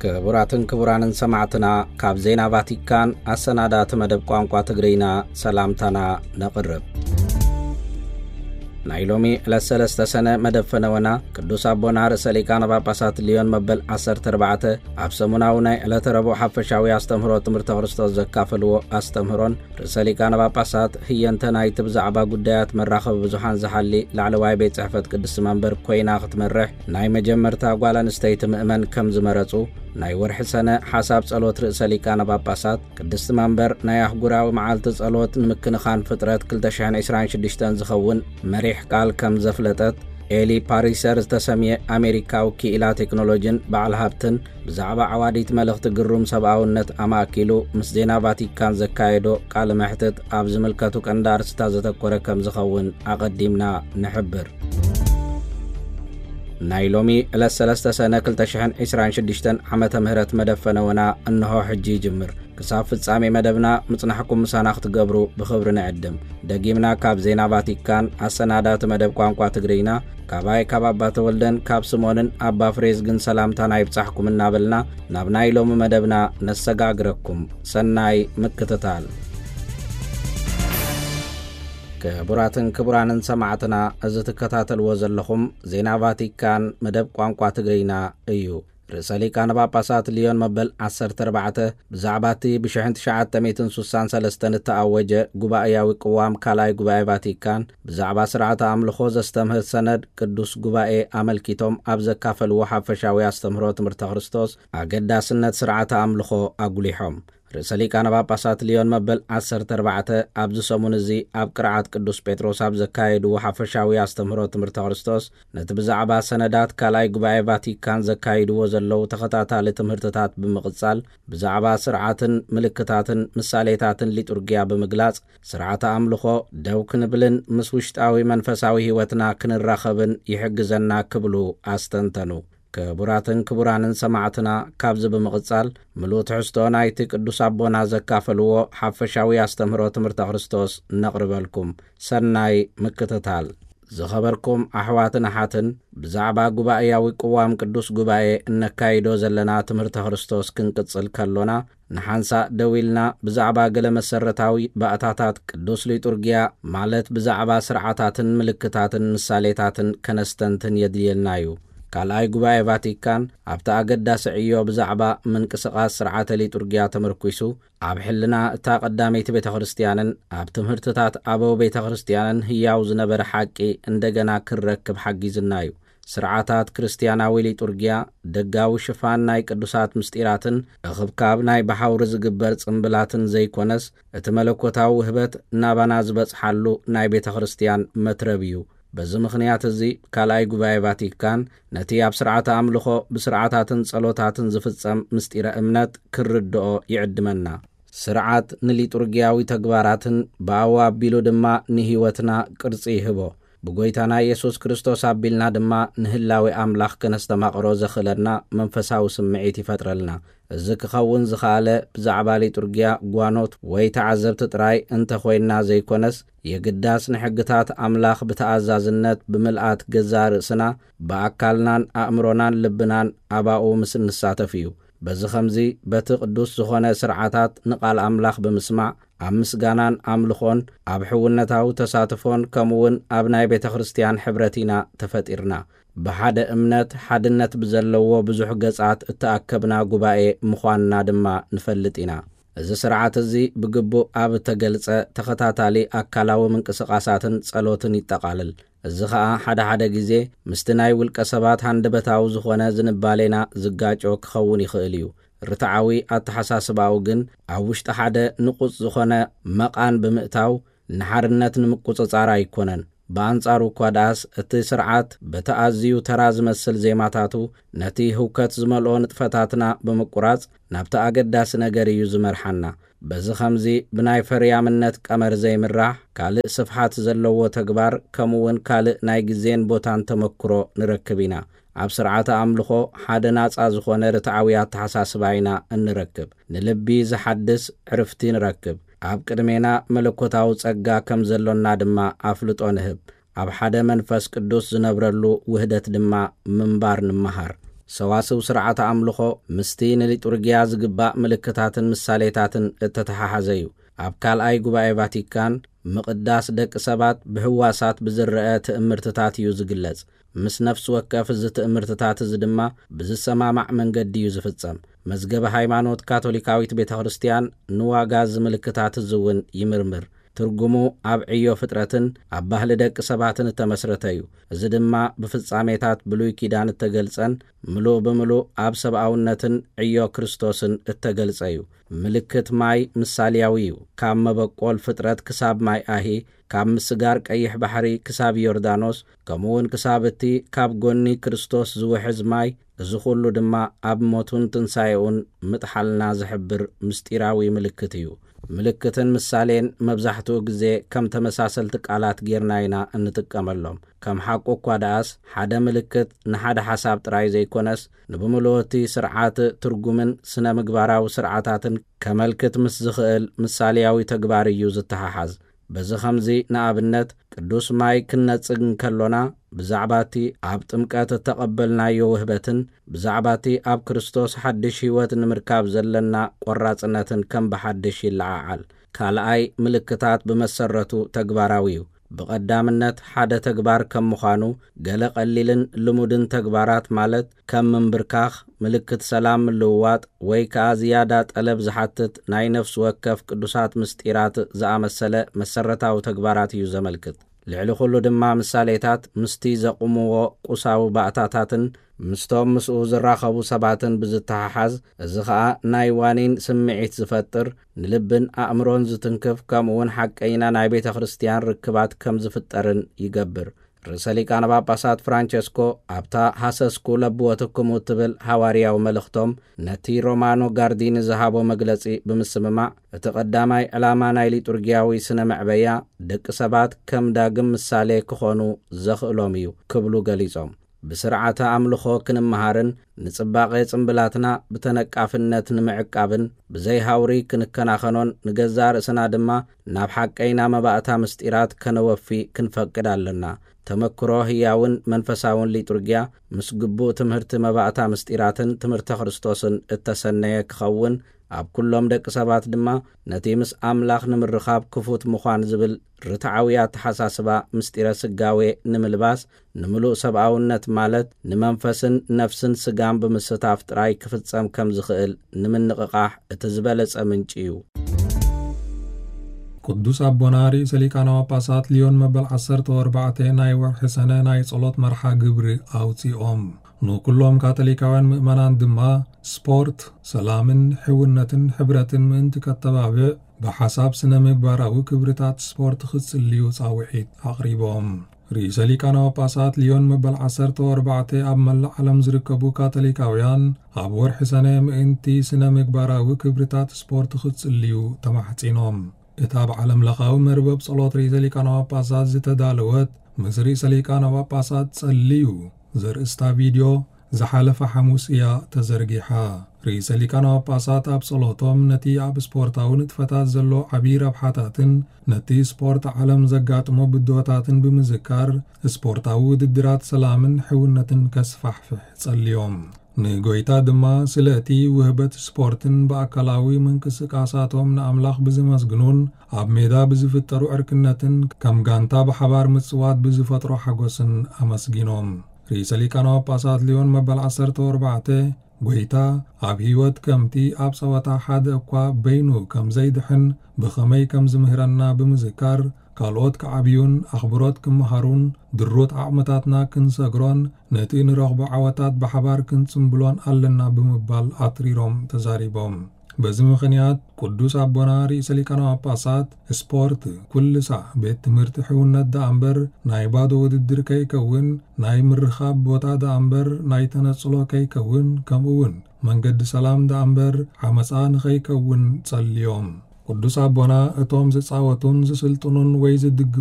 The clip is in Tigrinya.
ክቡራትን ክቡራንን ሰማዕትና፣ ካብ ዜና ቫቲካን ኣሰናዳእቲ መደብ ቋንቋ ትግርኛ ሰላምታና ነቕርብ። ናይ ሎሚ ዕለት ሰለስተ ሰነ መደብ ፈነወና፣ ቅዱስ ኣቦና ርእሰ ሊቃነ ጳጳሳት ሊዮን መበል ዓሰርተ ኣርባዕተ ኣብ ሰሙናዊ ናይ ዕለተ ረቡዕ ሓፈሻዊ ኣስተምህሮ ትምህርተ ክርስቶስ ዘካፈልዎ ኣስተምህሮን፣ ርእሰ ሊቃነ ጳጳሳት ህየንተ ናይቲ ብዛዕባ ጉዳያት መራኸቢ ብዙሓን ዝሓሊ ላዕለዋይ ቤት ጽሕፈት ቅድስቲ መንበር ኮይና ክትመርሕ ናይ መጀመርታ ጓል ኣንስተይቲ ምእመን ከም ዝመረጹ፣ ናይ ወርሒ ሰነ ሓሳብ ጸሎት ርእሰ ሊቃነ ጳጳሳት፣ ቅድስቲ መንበር ናይ ኣህጉራዊ መዓልቲ ጸሎት ንምክንኻን ፍጥረት ክልተ ሽሕን ዕስራን ሽዱሽተን ዝኸውን መሪሕ ቃል ከም ዘፍለጠት፣ ኤሊ ፓሪሰር ዝተሰምየ ኣሜሪካዊ ክኢላ ቴክኖሎጂን በዓል ሃብትን ብዛዕባ ዓዋዲት መልእኽቲ ግሩም ሰብኣውነት ኣማእኪሉ ምስ ዜና ቫቲካን ዘካየዶ ቃለ መሕትት ኣብ ዝምልከቱ ቀንዲ ኣርእስታት ዘተኮረ ከም ዝኸውን ኣቐዲምና ንሕብር። ናይ ሎሚ ዕለት ሰለስተ ሰነ ክልተ ሽሕን ዕስራን ሽዱሽተን ዓመተ ምህረት መደብ ፈነወና እንሆ ሕጂ ይጅምር። ክሳብ ፍጻሜ መደብና ምጽናሕኩም ምሳና ክትገብሩ ብኽብሪ ንዕድም። ደጊምና ካብ ዜና ቫቲካን ኣሰናዳእቲ መደብ ቋንቋ ትግርኛ፣ ካባይ ካብ ኣባ ተወልደን ካብ ስምኦንን ኣባ ፍሬዝግን ሰላምታና ይብጻሕኩም እናበልና ናብ ናይ ሎሚ መደብና ነሰጋግረኩም። ሰናይ ምክትታል። ክቡራትን ክቡራንን ሰማዕትና፣ እዚ ትከታተልዎ ዘለኹም ዜና ቫቲካን መደብ ቋንቋ ትግርኛ እዩ። ርእሰ ሊቃነ ጳጳሳት ሊዮን መበል ዓሰርተ ኣርባዕተ ብዛዕባ እቲ ብሽሕን ትሽዓተ ሚእትን ሱሳን ሰለስተን እተኣወጀ ጉባኤያዊ ቅዋም ካልኣይ ጉባኤ ቫቲካን ብዛዕባ ስርዓተ ኣምልኾ ዘስተምህር ሰነድ ቅዱስ ጉባኤ ኣመልኪቶም ኣብ ዘካፈልዎ ሓፈሻዊ ኣስተምህሮ ትምህርተ ክርስቶስ ኣገዳስነት ስርዓተ ኣምልኾ ኣጉሊሖም። ርእሰ ሊቃነ ጳጳሳት ሊዮን መበል ዓሰርተ ኣርባዕተ ኣብዚ ሰሙን እዚ ኣብ ቅርዓት ቅዱስ ጴጥሮስ ኣብ ዘካየድዎ ሓፈሻዊ ኣስተምህሮ ትምህርተ ክርስቶስ፣ ነቲ ብዛዕባ ሰነዳት ካልኣይ ጉባኤ ቫቲካን ዘካይድዎ ዘለዉ ተኸታታሊ ትምህርትታት ብምቕጻል፣ ብዛዕባ ስርዓትን ምልክታትን ምሳሌታትን ሊጡርጊያ ብምግላጽ፣ ስርዓተ ኣምልኾ ደው ክንብልን ምስ ውሽጣዊ መንፈሳዊ ህይወትና ክንራኸብን ይሕግዘና ክብሉ ኣስተንተኑ። ክቡራትን ክቡራንን ሰማዕትና፣ ካብዚ ብምቕጻል ምሉእ ትሕዝቶ ናይቲ ቅዱስ ኣቦና ዘካፈልዎ ሓፈሻዊ ኣስተምህሮ ትምህርተ ክርስቶስ ነቕርበልኩም። ሰናይ ምክትታል። ዝኸበርኩም ኣሕዋትን ኣሓትን፣ ብዛዕባ ጉባኤያዊ ቅዋም ቅዱስ ጉባኤ እነካይዶ ዘለና ትምህርተ ክርስቶስ ክንቅጽል ከሎና፣ ንሓንሳእ ደው ኢልና ብዛዕባ ገለ መሰረታዊ ባእታታት ቅዱስ ሊጡርጊያ፣ ማለት ብዛዕባ ስርዓታትን ምልክታትን ምሳሌታትን ከነስተንትን የድልየና እዩ። ካልኣይ ጉባኤ ቫቲካን ኣብቲ ኣገዳሲ ዕዮ ብዛዕባ ምንቅስቓስ ስርዓተ ሊጡርጊያ ተመርኲሱ፣ ኣብ ሕልና እታ ቀዳመይቲ ቤተ ክርስቲያንን ኣብ ትምህርትታት ኣበው ቤተ ክርስቲያንን ህያው ዝነበረ ሓቂ እንደገና ክረክብ ሓጊዝና እዩ። ስርዓታት ክርስትያናዊ ሊጡርጊያ፣ ደጋዊ ሽፋን ናይ ቅዱሳት ምስጢራትን እኽብካብ ናይ ብሓውሪ ዝግበር ጽምብላትን ዘይኮነስ፣ እቲ መለኮታዊ ውህበት ናባና ዝበጽሓሉ ናይ ቤተ ክርስቲያን መትረብ እዩ። በዚ ምኽንያት እዚ፣ ካልኣይ ጉባኤ ቫቲካን ነቲ ኣብ ስርዓተ ኣምልኾ ብስርዓታትን ጸሎታትን ዝፍጸም ምስጢረ እምነት ክርድኦ ይዕድመና። ስርዓት ንሊጡርጊያዊ ተግባራትን ብኣኡ ኣቢሉ ድማ ንህይወትና ቅርጺ ይህቦ። ብጎይታና ኢየሱስ ክርስቶስ ኣቢልና ድማ ንህላዌ ኣምላኽ ከነስተማቕሮ ዘኽእለና መንፈሳዊ ስምዒት ይፈጥረልና። እዚ ክኸውን ዝኸኣለ ብዛዕባ ሊጡርጊያ ጓኖት ወይ ተዓዘብቲ ጥራይ እንተኾይንና ዘይኮነስ፣ የግዳስ ንሕግታት ኣምላኽ ብተኣዛዝነት ብምልኣት ገዛእ ርእስና ብኣካልናን ኣእምሮናን ልብናን ኣባኡ ምስ እንሳተፍ እዩ። በዚ ኸምዚ፣ በቲ ቅዱስ ዝኾነ ስርዓታት ንቓል ኣምላኽ ብምስማዕ፣ ኣብ ምስጋናን ኣምልኾን፣ ኣብ ሕውነታዊ ተሳትፎን፣ ከምኡውን ኣብ ናይ ቤተ ክርስቲያን ሕብረት ኢና ተፈጢርና። ብሓደ እምነት፣ ሓድነት ብዘለዎ ብዙሕ ገጻት እተኣከብና ጉባኤ ምዃንና ድማ ንፈልጥ ኢና። እዚ ስርዓት እዚ ብግቡእ ኣብ እተገልጸ ተኸታታሊ ኣካላዊ ምንቅስቓሳትን ጸሎትን ይጠቓልል። እዚ ኸኣ ሓደ ሓደ ግዜ ምስቲ ናይ ውልቀ ሰባት ሃንደበታዊ ዝኾነ ዝንባሌና ዝጋጮ ክኸውን ይኽእል እዩ። ርትዓዊ ኣተሓሳስባኡ ግን ኣብ ውሽጢ ሓደ ንቑጽ ዝኾነ መቓን ብምእታው ንሓርነት ንምቁጽጻር ኣይኮነን። ብኣንጻሩ እኳ ደኣስ፣ እቲ ስርዓት በቲ ኣዝዩ ተራ ዝመስል ዜማታቱ ነቲ ህውከት ዝመልኦ ንጥፈታትና ብምቁራጽ ናብቲ ኣገዳሲ ነገር እዩ ዝመርሓና። በዚ ኸምዚ ብናይ ፈርያምነት ቀመር ዘይምራሕ ካልእ ስፍሓት ዘለዎ ተግባር፣ ከምኡውን ካልእ ናይ ግዜን ቦታን ተመክሮ ንረክብ ኢና። ኣብ ስርዓተ ኣምልኾ ሓደ ናጻ ዝኾነ ርትዓዊ ኣተሓሳስባ ኢና እንረክብ። ንልቢ ዝሓድስ ዕርፍቲ ንረክብ። ኣብ ቅድሜና መለኮታዊ ጸጋ ከም ዘሎና ድማ ኣፍልጦ ንህብ። ኣብ ሓደ መንፈስ ቅዱስ ዝነብረሉ ውህደት ድማ ምንባር ንምሃር። ሰዋስው ስርዓተ ኣምልኾ ምስቲ ንሊጡርጊያ ዝግባእ ምልክታትን ምሳሌታትን እተተሓሓዘ እዩ። ኣብ ካልኣይ ጉባኤ ቫቲካን፣ ምቕዳስ ደቂ ሰባት ብህዋሳት ብዝረአ ትእምርትታት እዩ ዝግለጽ። ምስ ነፍሲ ወከፍ እዚ ትእምርትታት እዚ ድማ ብዝሰማማዕ መንገዲ እዩ ዝፍጸም። መዝገበ ሃይማኖት ካቶሊካዊት ቤተ ክርስቲያን ንዋጋ እዚ ምልክታት እዚ እውን ይምርምር። ትርጉሙ ኣብ ዕዮ ፍጥረትን ኣብ ባህሊ ደቂ ሰባትን እተመስረተ እዩ። እዚ ድማ ብፍጻሜታት ብሉይ ኪዳን እተገልጸን ምሉእ ብምሉእ ኣብ ሰብኣውነትን ዕዮ ክርስቶስን እተገልጸ እዩ። ምልክት ማይ ምሳልያዊ እዩ። ካብ መበቆል ፍጥረት ክሳብ ማይ ኣሂ፣ ካብ ምስጋር ቀይሕ ባሕሪ ክሳብ ዮርዳኖስ፣ ከምኡ እውን ክሳብ እቲ ካብ ጎኒ ክርስቶስ ዝውሕዝ ማይ፣ እዚ ኹሉ ድማ ኣብ ሞቱን ትንሳኤኡን ምጥሓልና ዝሕብር ምስጢራዊ ምልክት እዩ። ምልክትን ምሳሌን መብዛሕትኡ ግዜ ከም ተመሳሰልቲ ቃላት ጌርና ኢና እንጥቀመሎም። ከም ሓቁ እኳ ደኣስ፣ ሓደ ምልክት ንሓደ ሓሳብ ጥራይ ዘይኮነስ፣ ንብምልኡ እቲ ስርዓት ትርጉምን ስነ ምግባራዊ ስርዓታትን ከመልክት ምስ ዝኽእል ምሳሌያዊ ተግባር እዩ ዝተሓሓዝ። በዚ ኸምዚ፣ ንኣብነት፣ ቅዱስ ማይ ክንነጽግ እንከሎና፣ ብዛዕባ እቲ ኣብ ጥምቀት እተቐበልናዮ ውህበትን ብዛዕባ እቲ ኣብ ክርስቶስ ሓድሽ ህይወት ንምርካብ ዘለና ቈራጽነትን ከም ብሓድሽ ይለዓዓል። ካልኣይ፣ ምልክታት ብመሰረቱ ተግባራዊ እዩ። ብቐዳምነት፣ ሓደ ተግባር ከም ምዃኑ፣ ገለ ቀሊልን ልሙድን ተግባራት፣ ማለት ከም ምንብርካኽ፣ ምልክት ሰላም ምልውዋጥ፣ ወይ ከኣ ዝያዳ ጠለብ ዝሓትት ናይ ነፍሲ ወከፍ ቅዱሳት ምስጢራት ዝኣመሰለ መሰረታዊ ተግባራት እዩ ዘመልክት። ልዕሊ ኹሉ ድማ፣ ምሳሌታት ምስቲ ዘቑምዎ ቁሳዊ ባእታታትን ምስቶም ምስኡ ዝራኸቡ ሰባትን ብዝተሓሓዝ፣ እዚ ኸኣ ናይ ዋኒን ስምዒት ዝፈጥር፣ ንልብን ኣእምሮን ዝትንክፍ፣ ከምኡውን ሓቀይና ናይ ቤተ ክርስቲያን ርክባት ከም ዝፍጠርን ይገብር። ርእሰ ሊቃነ ጳጳሳት ፍራንቸስኮ፣ ኣብታ ሃሰስኩ ለብወትክሙ እትብል ሃዋርያዊ መልእኽቶም፣ ነቲ ሮማኖ ጋርዲኒ ዝሃቦ መግለጺ ብምስምማዕ፣ እቲ ቀዳማይ ዕላማ ናይ ሊጡርጊያዊ ስነ መዕበያ፣ ደቂ ሰባት ከም ዳግም ምሳሌ ክኾኑ ዘኽእሎም እዩ ክብሉ ገሊጾም። ብስርዓተ ኣምልኾ ክንመሃርን ንጽባቐ ጽምብላትና ብተነቃፍነት ንምዕቃብን ብዘይ ሃውሪ ክንከናኸኖን ንገዛእ ርእስና ድማ ናብ ሓቀይና መባእታ ምስጢራት ከነወፊ ክንፈቅድ ኣለና። ተመክሮ ህያውን መንፈሳውን ሊጡርጊያ ምስ ግቡእ ትምህርቲ መባእታ ምስጢራትን ትምህርተ ክርስቶስን እተሰነየ ክኸውን፣ ኣብ ኩሎም ደቂ ሰባት ድማ ነቲ ምስ ኣምላኽ ንምርኻብ ክፉት ምዃን ዝብል ርትዓዊ ኣተሓሳስባ ምስጢረ ስጋዌ ንምልባስ፣ ንምሉእ ሰብኣውነት ማለት ንመንፈስን ነፍስን ስጋን ብምስታፍ ጥራይ ክፍጸም ከም ዝኽእል ንምንቕቓሕ እቲ ዝበለጸ ምንጪ እዩ። ቅዱስ ኣቦና ርእሰ ሊቃነ ጳጳሳት ሊዮን መበል ዓሰርተ ኣርባዕተ ናይ ወርሒ ሰነ ናይ ጸሎት መርሓ ግብሪ ኣውጺኦም። ንኩሎም ካቶሊካውያን ምእመናን ድማ ስፖርት ሰላምን ሕውነትን ሕብረትን ምእንቲ ከተባብዕ ብሓሳብ ስነ ምግባራዊ ክብርታት ስፖርት ክጽልዩ ጻውዒት ኣቕሪቦም። ርእሰ ሊቃነ ጳጳሳት ሊዮን መበል ዓሰርተ ኣርባዕተ ኣብ መላእ ዓለም ዝርከቡ ካቶሊካውያን ኣብ ወርሒ ሰነ ምእንቲ ስነ ምግባራዊ ክብርታት ስፖርት ክጽልዩ ተማሕጺኖም። እታ ብዓለም ለኻዊ መርበብ ጸሎት ርእሰ ሊቃነ ጳጳሳት ዝተዳለወት ምስ ርእሰ ሊቃነ ጳጳሳት ጸልዩ ዘርእስታ ቪድዮ ዝሓለፈ ሓሙስ እያ ተዘርጊሓ። ርእሰ ሊቃነ ጳጳሳት ኣብ ጸሎቶም ነቲ ኣብ ስፖርታዊ ንጥፈታት ዘሎ ዓቢ ረብሓታትን ነቲ ስፖርት ዓለም ዘጋጥሞ ብድሆታትን ብምዝካር፣ ስፖርታዊ ውድድራት ሰላምን ሕውነትን ከስፋሕፍሕ ጸልዮም። ንጎይታ ድማ ስለ እቲ ውህበት ስፖርትን ብኣካላዊ ምንቅስቃሳቶም ንኣምላኽ ብዝመስግኑን ኣብ ሜዳ ብዝፍጠሩ ዕርክነትን ከም ጋንታ ብሓባር ምጽዋት ብዝፈጥሮ ሓጎስን ኣመስጊኖም። ርእሰ ሊቃነ ጳጳሳት ሊዮን መበል ዓሰርተ ኣርባዕተ፣ ጎይታ ኣብ ህይወት ከምቲ ኣብ ጸወታ ሓደ እኳ በይኑ ከም ዘይድሕን ብኸመይ ከም ዝምህረና ብምዝካር፣ ካልኦት ክዓብዩን ኣኽብሮት ክመሃሩን ድሩት ዓቕምታትና ክንሰግሮን ነቲ ንረኽቦ ዓወታት ብሓባር ክንጽምብሎን ኣለና ብምባል ኣትሪሮም ተዛሪቦም። በዚ ምኽንያት ቅዱስ ኣቦና ርእሰ ሊቃነ ጳጳሳት፣ ስፖርት ኩሉ ሳዕ ቤት ትምህርቲ ሕውነት ደኣ እምበር ናይ ባዶ ውድድር ከይከውን፣ ናይ ምርኻብ ቦታ ደኣ እምበር ናይ ተነጽሎ ከይከውን፣ ከምኡ እውን መንገዲ ሰላም ደኣ እምበር ዓመጻ ንኸይከውን ጸልዮም። ቅዱስ ኣቦና እቶም ዝጻወቱን ዝስልጥኑን ወይ ዝድገ